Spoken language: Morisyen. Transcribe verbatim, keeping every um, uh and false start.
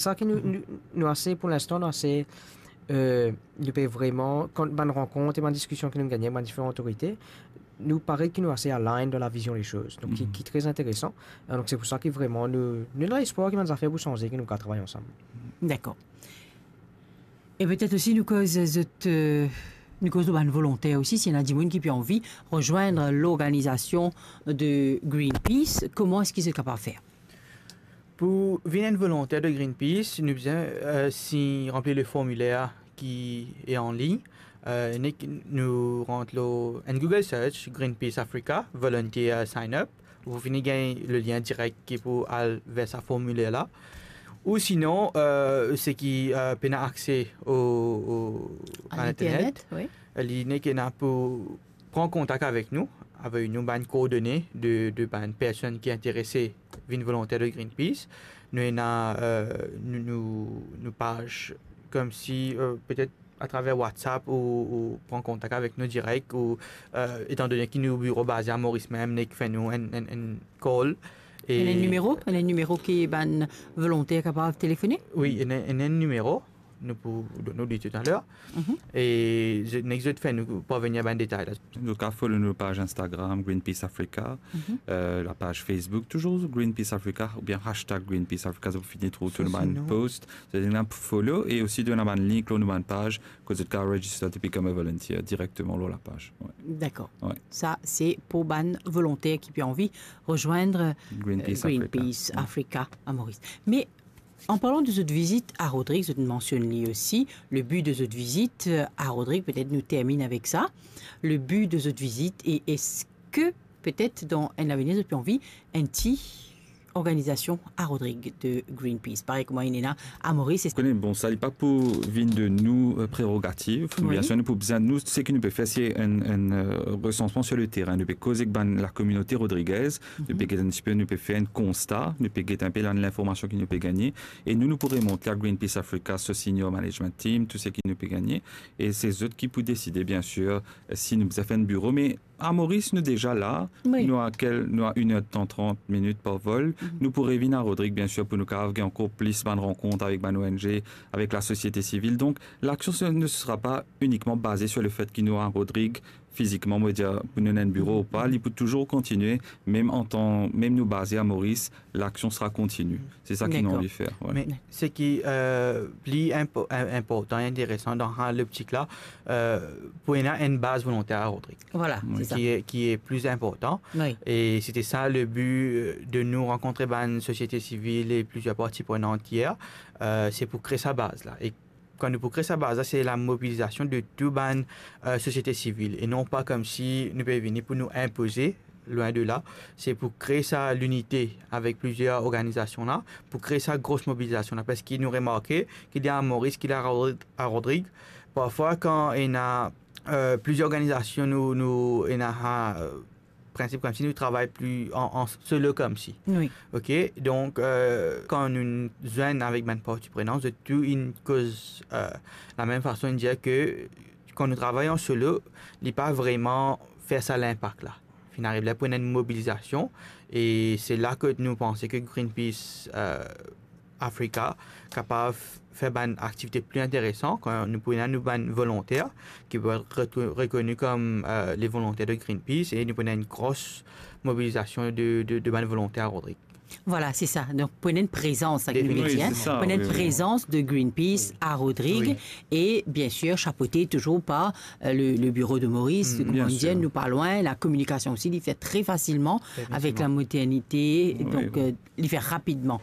Sa ki nou, nou, nou ase, pou linstan, nou ase, euh, nou pe vreman, kan bann rankont e bann diskision ki nou gagne, bann diferan otorite, nou paret ki nou ase align dan la vizion de soz. Donk, ki, ki tre interesan. Euh, donk, se pou sa ki vreman nou, nou ena lespwar ki bann zafer pou sanze, ki nou kapav travay ansam. Dakor. E petet osi nou koz zot, euh, nou koz lor bann volonter osi, si ena dimoun ki pe anvi rezwenn lorganizasion de Greenpeace, kouma eski zot kapav fer? Pou vinn enn volonter de Greenpeace, nou bizin, euh, si ranpli le formiler ki e an lign. Euh, nek nou rant lor enn Google search, Greenpeace Africa, volunteer sign up. Ou fini gagn le lien direk ki pou al ver sa formiler la. Ou sinon, euh, seki, euh, pena akse o, o, a internet, li nek ena pou pran kontak avek nou, avoy nou bann koordone de, de bann personn ki interese vinn volonter de Greenpeace. Nou ena, euh, nou, nou, nou paz, koumsi, euh, petet atraver WhatsApp ou, ou pran kontak avek nou direk, ou, euh, etandone ki nou biro baze a Moris mem, nek fer nou enn, enn, enn call. E ena enn nimero? Ena enn nimero ki bann volonter kapav telefone? Wi, ena, ena enn nimero. Nou pou donn nou li toutaler. E zot, nek zot fer nou parvenir bann detay la. Zot kapav follow nou paz Instagram, Greenpeace Africa, euh, lapaz Facebook, touzour Greenpeace Africa, oubien hashtag Greenpeace Africa, zot pou fini trouv tou nou bann post. Zot ena pou follow, e osi nou ena bann link lor nou bann paz, kot zot kapav register to become a volunteer direkteman lor lapaz. Wi. Dakor. Wi. Sa, se pou bann volonter ki pe anvi rezwenn, euh, Greenpeace Africa. Greenpeace Africa a Moris. Me an parlan de zot vizit a Rodrig, zot mansionn li osi, le bi de zot vizit, euh, a Rodrig, petet nou terminn avek sa. Le bi de zot vizit, e eski petet dan enn lavenir zot pe anvi enn ti organizasion a Rodrig de Greenpeace, parey kouma ena a Moris? Ou kone, bon, sa li pa pou vinn de nou, euh, prerogativ. Wi. Biensir, nou pou bizin, nou, seki nou pe fer, se enn, enn, euh, resansman sur le terrain. Nou pe koz ek bann lakominote rodrigez, nou pe get enn tipe, nou pe fer enn konsta, nou pe get enn pe la, linformasion ki nou pe gagne, e nou, nou pou remont li a Greenpeace Africa, so senior management team, tou seki nou pe gagne, e se zot ki pou deside, biensir, si nou bizin fer enn biro, me a Moris, nou deza la, wi, nou a kel, nou a enn er tan, trant minit par vol. Nou pou revinn a Rodrig, biensir, pou nou kapav gagn ankor plis bann rankont avek bann O N G, avek lasosiete sivil. Donk, laksion se, ne sera pa inikman baze sur le fet ki nou a Rodrig fizikman, mo dir, pou nou ena enn biro ou pa, li pou touzour kontinie, mem antan, mem nou baze a Moris, laksion sera kontini. Se sa ki nou anvi fer, wi. Dakor. Me seki, euh, pli inpo-, in-, inportan e interesan dan sa loptik la, euh, pou ena enn baz volonter a Rodrig. Vwala, wi, se sa. Ki e, ki e pli inportan. Wi. E sete sa le bi, euh, de nou rankontre bann sosiete sivil e plizier parti prenant yer, euh, se pou kre sa baz la. E kan nou pou kre sa baz la, se lamobilizasion de tou bann, euh, sosiete sivil, e non pa koumsi nou pe vini pou nou inpoze, lwin de la. Se pou kre sa linite avek plizier organizasion la, pou kre sa gro mobilizasion la, parski nou remarke ki li a Moris, ki li a Rod-, a Rodrig, parfwa kan ena, euh, plizier organizasion, nou, nou ena, euh, prinsip koumsi nou travay pli an, an solo koumsi. Wi. Ok, donk, euh, kan nou zwenn avek bann parti prenant, zot tou inn koz, euh, lamem fason, inn dir ke kan nou travay an solo, li pa vreman fer sa linpak la. Finn ariv ler pou ena enn mobilizasion, e se la ke nou panse ke Greenpeace, euh, Africa kapav fer bann aktivite pli interesan, kan nou pou ena nou bann volonter ki pou et retou-, rekoni kom, euh, le volonter de Greenpeace, e nou pou ena enn gro mobilizasion de, de, de bann volonter a Rodrig. Vwala, se sa. Donk, pou ena enn prezans, sa ki nou... Definitivman. Wi, se sa, pou ena enn prezans de Greenpeace a Rodrig, e biensir, shapote touzour par, euh, le, le biro de Moris, kouma nou dir, nou pa lwin, lakominikasion osi, li fer tre fasilman avek la modernite, donk, euh, li fer rapidman.